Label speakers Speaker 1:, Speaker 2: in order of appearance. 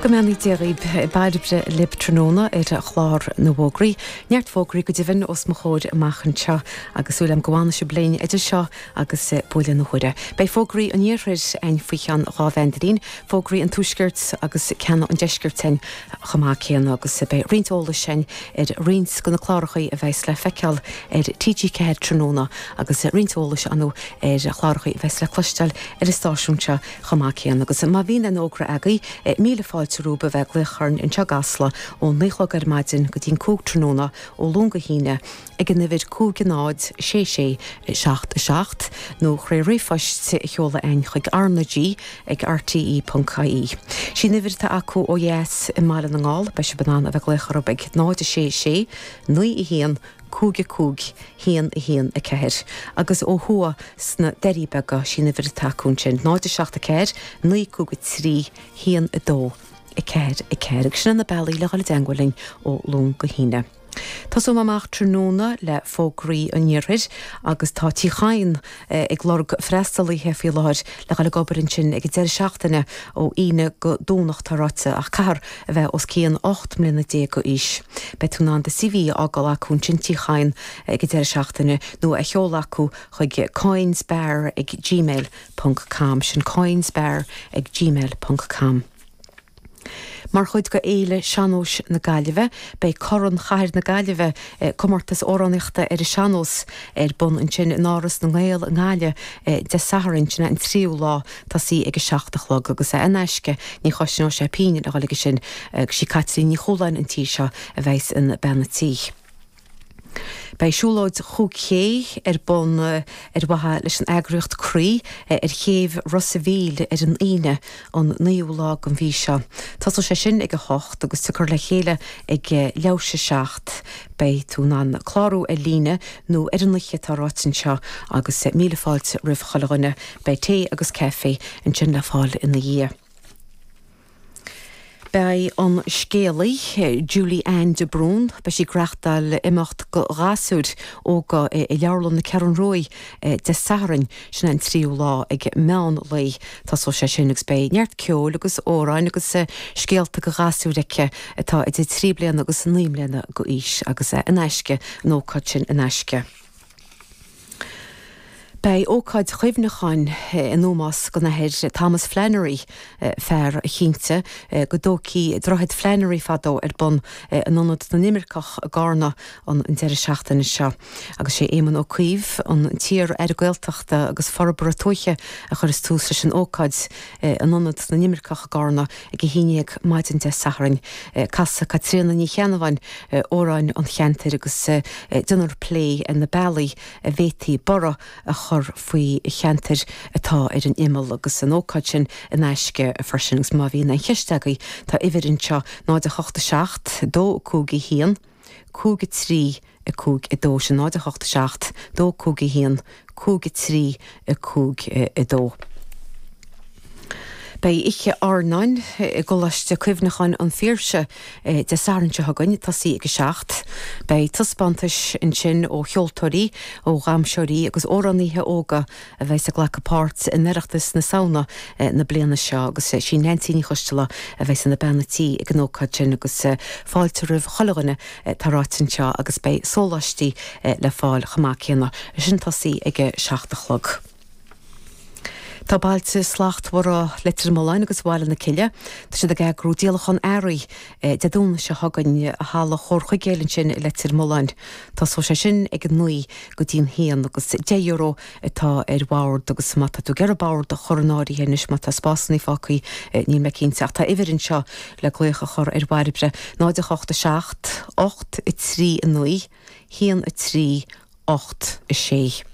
Speaker 1: Go mbeannaí Dia dhaoibh. Bairbre libh tráthnóna ar chlár na bhfógraí. Neart fógraí go deimhin os mo chomhair amach anseo agus súil agam go bhfanfaidh sibh linn idir seo agus buaile na huaire. Beidh fógraí an iarthair a'inn faoi cheann 2 mheandairín, fógraí an tuaiscirt agus ceann an deiscirt a'inn chomh maith céanna agus beidh roinnt eolais a'inn ar roinnt de na clárachaí a bheas le feiceáil ar TG4 tráthnóna agus roinnt eolais a'inn ar chlárachaí a bheas le cloisteáil ar an stáisiún seo chomh maith céanna. Agus má bhíonn aon fhógra agaibh, míle fáilte romhaibh a bheith ag glaoch orainn anseo i gCasla ó 9 a chlog ar maidin go dtí'n 5 tráthnóna ó Luan go hAoine ag an uimhir 5 0 6 6 7 7 nó tré ríomhphost a sheoladh a'inn chuig RnaG ag rte ponc ie. Sí an uimhir atá acu ó dheas i mBaile na nGall, beidh sibh in ann a bheith ag glaoch orthu ag 0 6 6 9 1 5 5 1 1 4 agus ó thuaidh sna Doirí Beaga, sí an uimhir atá acu ansin, 0 7 4 9 5 3 1 2 4 4 agus sin na bealaí le dhul i dteangmháil linn ó Luan go hAoine. Tosóidh mé amach tráthnóna le fógraí an iarthair agus tá Tí Chadhain ag lorg freastalaithe faoi láthair le dhul ag obair ansin ag an deireadh seachtaine ó Aoine go Domhnach tá ráite ach caithfear a bheith os cionn 18 mbliana d'aois. Beidh tú in ann do CV a fhágáil acu ansin Tí Chadhain ag an deireadh seachtaine nó a sheoladh acu chuig coynesbar ag gmail ponc com. Sin coynesbar ag gmail ponc com. Mar chuid de Fhéile Sean-Nóis na Gaillimhe, beidh Corn Chathair na Gaillimhe, comórtas amhránaíochta ar an sean-nós, ar bun ansin in Áras na nGael i nGaillimh Dé Sathairn, sin é an tríú lá, tosaí ag a 7 a chlog agus é in aisce, ní chosnóidh sé pingin a dhul aige sin agus sí Caitlín Ní Chualáin an tí seo a bheas ina bean a tí. Beidh siúlóid chúig ché ar bun ar mhaithe leis an eagraíocht Croí ar chéibh Ros a' Mhíl ar an Aoine an 9ú lá den mhí seo. Tosóidh sé sin ag a hocht agus tiocfar le chéile ag leathuair théis a 7. Beidh tú in ann clárú ar líne nó ar an oíche atá ráite anseo agus míle fáilte roimh chuile dhuine. Beidh tae agus caife ansin le fáil ina dhiaidh. Beidh an scéalaí, Julie Ann de Brún, beidh sí ag reachtáil imeacht go ghasúir óga i Leabharlann na Ceathrún Ruaidh Dé Sathairn, sin é an tríú lá, ag meán lae. Tosóidh sé sin agus beidh neart ceoil agus amhráin agus scéalta go ghasúir aici atá idir 3 bliana agus 9 mbliana d'aois agus é in aisce, an ócáid sin in aisce. Beidh ócáid chuimhneacháin in ómós don Athair Thomas Flannery, fear a chinntigh go dtógfaí Droichead Flannery fadó, ar bun in Ionad na nImirceach i gCarna an deireadh seachtaine seo. Agus sé Éamon Ó Cuív, an t-iar-Aire Gaeltachta agus Forbartha Tuaithe a chuirfeas tús leis an ócáid in Ionad na nImirceach i gCarna ag 11 maidin Dé Sathairn. Casfaidh Caitríona Ní Cheannabháin amhráin an cheantair agus déanfar plé ar na bealaí a bhféadfaí borradh a chur faoi cheantair atá ar an imeall agus an ócáid sin in aisce freisin. Agus má bhíonn aon cheist agaibh tá uimhir anseo 0 8 7 2 5 1 5 3 5 2 sin 0 8 7 2 5 1 5 3 5 2. Beidh Oíche Airneáin i gColáiste Cuimhneacháin an Phiarsaigh Dé Sathairn seo chugainn, tosaí ag 7. Beidh taispeántais ansin ó cheoltóirí, ó dhamhsóirí agus amhránaithe óga a bheas ag glacadh páirt in Oireachtas na Samhna na bliana seo agus sí Neansaí Ní Choisteala a bheas ina bean a tí ag an ócáid sin agus fáilte roimh chuile dhuine Tá ráite anseo agus beidh sóláistí le fáil chomh maith céanna. Sin tosaí ag a 7 a chlog. Tá Bailte Slachtmhara Leitir Mealláin agus Bhaile na Cille, tá siad ag eagrú díolachán earraí Dé Domhnaigh seo chugainn i Halla Chomhar Chuigéil ansin i Leitir Mealláin. Tosóidh sé sin ag a 9 go dtí'n haon agus €10 atá ar bhord agus má tá tú ag iarraidh bord a chur in áirithe anois, má tá spásanna fágtha, níl mé cinnte ach tá uimhir anseo le glaoch a chur ar Bhairbre, 0 8 7 8 3 9 1 3 8 6.